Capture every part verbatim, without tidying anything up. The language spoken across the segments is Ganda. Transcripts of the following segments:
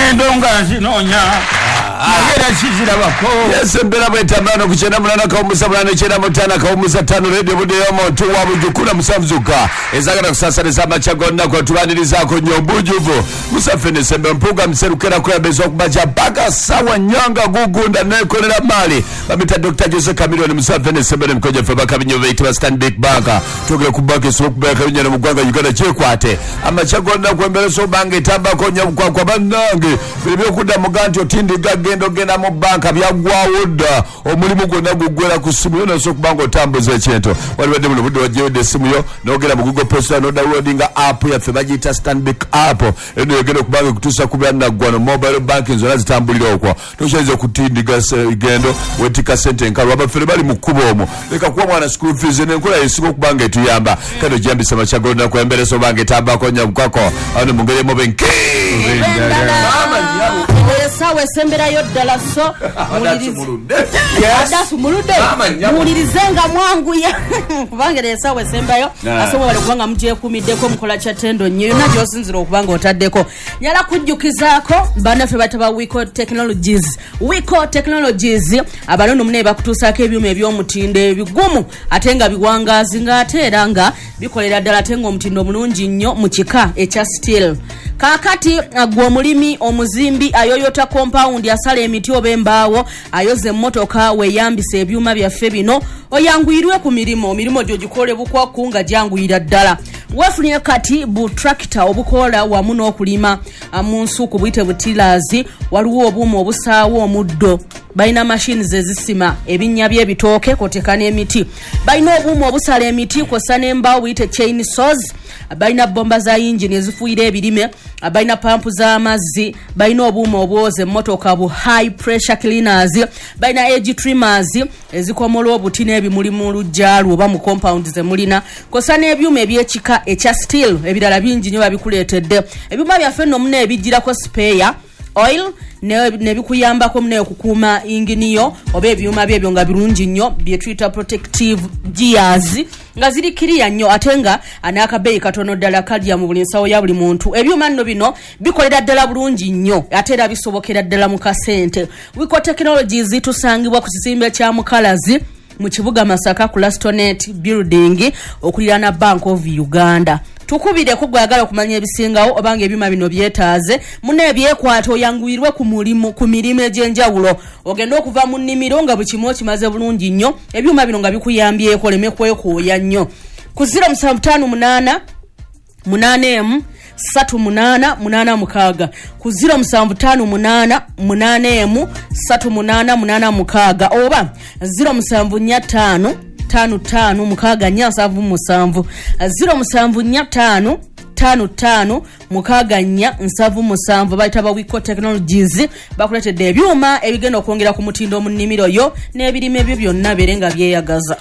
Ŋŋenda nga nzinoonya naye era sizirabako. Yes, embeera bwetambula ku kyenda munaana kawumusa munaana kyenda mu ttaano kawumusa ttaano Radio Budde y'omuntu wa Bujukula musanvu zokka ezagala kusaasaniza amakya gonna kwetubanirizaako nnyo obujuvu musaffe nesembe mpuuga muserukera kuyambeza okubaja paka sawa nyanga gugunda nekolera maali bamita Doctor Jose Chameleone musaffe nesembe nemikojo ffe bakabinyo beyitibwa Stanbic Bank tugere ku banka esobola okubeera kabinyana mu ggwanga Uganda kyekwate amakya gonna kwembeera obanga etambako nnyo bukwakwa bannange biri byokudda muga nti otindiga genda ogenda mu banka byaggwawo dda omulimu gwonna guggwera ku ssimu yo nosobola okuba nga otambuza ekintu walibadde buno budde wajjewedde essimu yo n'ogenda mu Google Play Store n'odownloadinga app yaffe bagiyita Stanbic app eno yogenda okuba nga ekutuusa ku byannaggwano mobile banking zonna zitambulira okwo tokyayinza okutindiga gendo wetikka ssente enkalu abafere bali mu kkubo omwo leka kuwa mwana school fees n'enkola esinga okuba nga etuyamba kale ogyambisa amakya g'olunaku embeera oba nga etambako nnyo bukwako ano mu ngeri emu benki Essaawa esemberayo ddala so muwulirize muwulirize nga mwanguya kubanga era essaawa esembayo asobola bale kubanga mugyekuumiddeko mukola kya ttendo nnyo yonna gy'osinzira okuba nga otaddeko nyala kujjukizaako bannaffe bayita Wiko Technologies. Wiko Technologies abalono mune bakutuusaako ebyuma eby'omutindo ebigumu ate nga biwangaazi ng'ate era nga bikolera ddala ate ng'omutindo mulungi nnyo mu kika ekya steel. Kaakati gwe omulimi omuzimbi ayoyota compound asala emiti oba embaawo ayoza emmotoka weeyambisa ebyuma byaffe bino oyanguyirwe ku mirimu emirimu gyo gikole bukwaku nga gyanguyira ddala. Weefunire kati bu tractor obukola wamu n'okulima mu nsuku buyite butilaazi waliwo obuuma obusaawo omuddo balina machines ezisima ebinnya by'ebitooke koteka n'emiti balina obuuma obusala emiti kwossa n'embaawo buyite chain saws balina bomba za yingini ezifuuyira ebirime balina pampu z'amazzi balina obuuma obwoza emmotoka bu high pressure cleaners balina edge trimmers ezikomola obuti n'ebimuli mu luggya lwo oba mu compound ze mulina kwossa n'ebyuma eby'ekika ekya steel ebirala bingi nnyo babikuleetedde. Ebyuma byaffe nno muna ebijjirako spare oil nebikuyambako mune okukuuma inginiyo oba ebyuma byebyo nga birungi nnyo bye tuyita protective gears nga ziri kiriya nnyo ate nga n'akabeeyi katono ddala kalya mu buli nsawo ya buli muntu. Ebyuma nno bino bikolera ddala bulungi nnyo ate era bisobokera ddala mu kasente. Wiko Technologies tusangibwa ku kizimbe kya Mukalazi mu kibuga Masaka ku Lastonet Building okuliraana Bank of Uganda. Tukubireko gwagala okumanya ebisingawo obanga ebyuma bino byetaaze mune ebyekwata oyanguyirwe ku mulimu ku mirimu egy'enjawulo ogenda okuva mu nnimiro nga buli kimu okimaze bulungi nnyo ebyuma bino nga bikuyambyeko oleme kwekooya nnyo. Ku ziro musanvu ttaano munaana munaana emu ssatu munaana munaana mukaaga ku ziro musanvu ttaano munaana munaana emu ssatu munaana munaana mukaaga oba ziro musanvu nnya ttaano ttaano ttaano mukaaga nnya nsanvu musanvu ziro musanvu nnya ttaano ttaano ttaano mukaaga nnya nsanvu musanvu bayita ba Wiko Technologies bakuleetedde ebyuma ebigenda okwongera ku mutindo mu nnimiro yo n'ebirime byo byonna beere nga byeyagaza.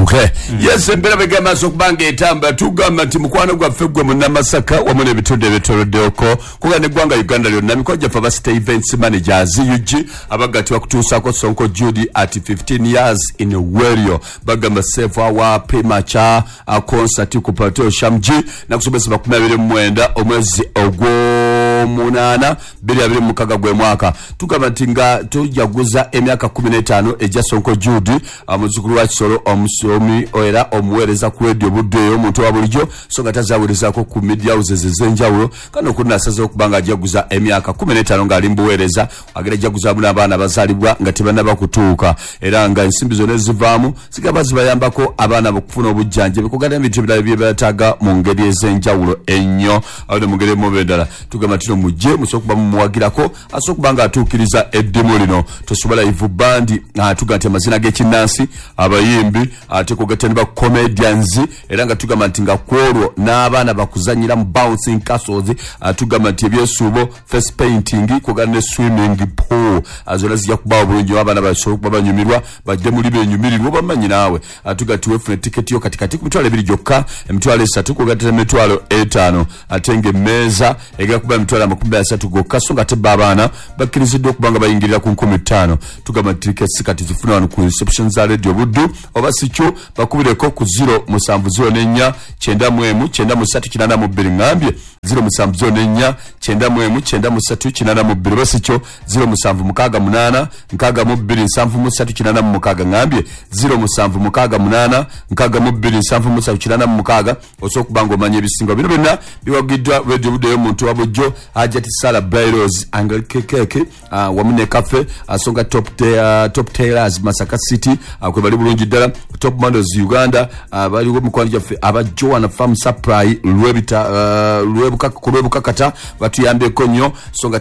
Okay. Yes, embeera begamba okuba nga etamba tugamba nti mukwano gwaffe gwe munnamasaka wamu n'ebitundu ebyetooloddeko kuga n'eggwanga Uganda lyonna mikwano gyaffe aba State Events Managers U G abagattibwa kutuusaako Sonko Judy at fifteen years in Werio bagamba save our premature concert ku Plateau Shamji nakusobesa makumi abiri mu mwenda omwezi ogw'omunaana bbiri abiri mu mukaaga gwe mwaka. Tugamba nti nga tujaguza emyaka kkumi n'etaano egya Sonko Judy muzzukulu wa Kisolo omusomi era omuweereza ku radio Budde omuntu wa bulijjo so nga tazaawulizaako ku media houses ez'enjawulo kano kunaasazeewo okuba nga ajaguza emyaka kkumi n'etaano ng'ali mu buweereza agenda ajaguzaamu n'abaana abazaalibwa nga tebannaba kutuuka era nga ensimbi zonna ezivaamu zigaba zibayambako abaana okufuna obujjanjabi kuganda ebintu ebirala bye beetaaga mu ngeri ez'enjawulo ennyo awo ne mu ngeri emu endala tugamba nti no mujje musobola okuba mumuwagirako asobola okuba nga atuukiriza eddimu lino tosobola live band tugamba nti amazina g'ekinnansi abayimbi ate kugatta ne ba comedians era nga tugamba nti nga kwolwo n'abaana bakuzannyira mu bouncing castles tugamba nti ebyesuubo face painting kuganda ne swimming pool zonna zijja kubaawo bulungi abaana basobola okuba banyumirwa bajje muli benyumirirwa bamanyi naawe tugamba nti weefune tiketi yo katikati ku mitwalo ebiri gyokka emitwalo esatu kugatta emitwalo etaano ate ng'emmeeza egenda kuba emitwalo Mitwalo amakumi asatu gokka, so nga tebba abaana bakkiriziddwa okuba nga bayingirira ku nkumi ttaano. Tugamba nti tiketi kati zifuna wano ku reception za Radio Buddu, oba si kyo bakubireko ku zero musanvu zero nenya kyenda mu emu kyenda mu ssatu kinaana mu bbiri. Ŋŋambye zero musanvu zero nenya kyenda mu emu kyenda mu ssatu kinaana mu bbiri, oba si kyo zero musanvu mukaaga munaana nkaaga mu bbiri nsanvu mu ssatu kinaana mu mukaaga. Ŋŋambye zero musanvu mukaaga munaana nkaaga mu bbiri nsanvu mu ssatu kinaana mu mukaaga. Osobola okuba ng'omanya ebisinga. Bino byonna biwagiddwa Radio Buddu ey'omuntu wa bulijjo, Hajati Sala Bairos Angekeke wamu ne Cafe Asonga Top, te, uh, Top Tailors Masaka City, uh, kwe bali bulungi ddala. Top Models Uganda, uh, baliwo mikwano gyaffe aba Joan Farm Supply Lwebita, uh, Lwebukaka, ku Lwebukakata batuyambyeko nnyo, so nga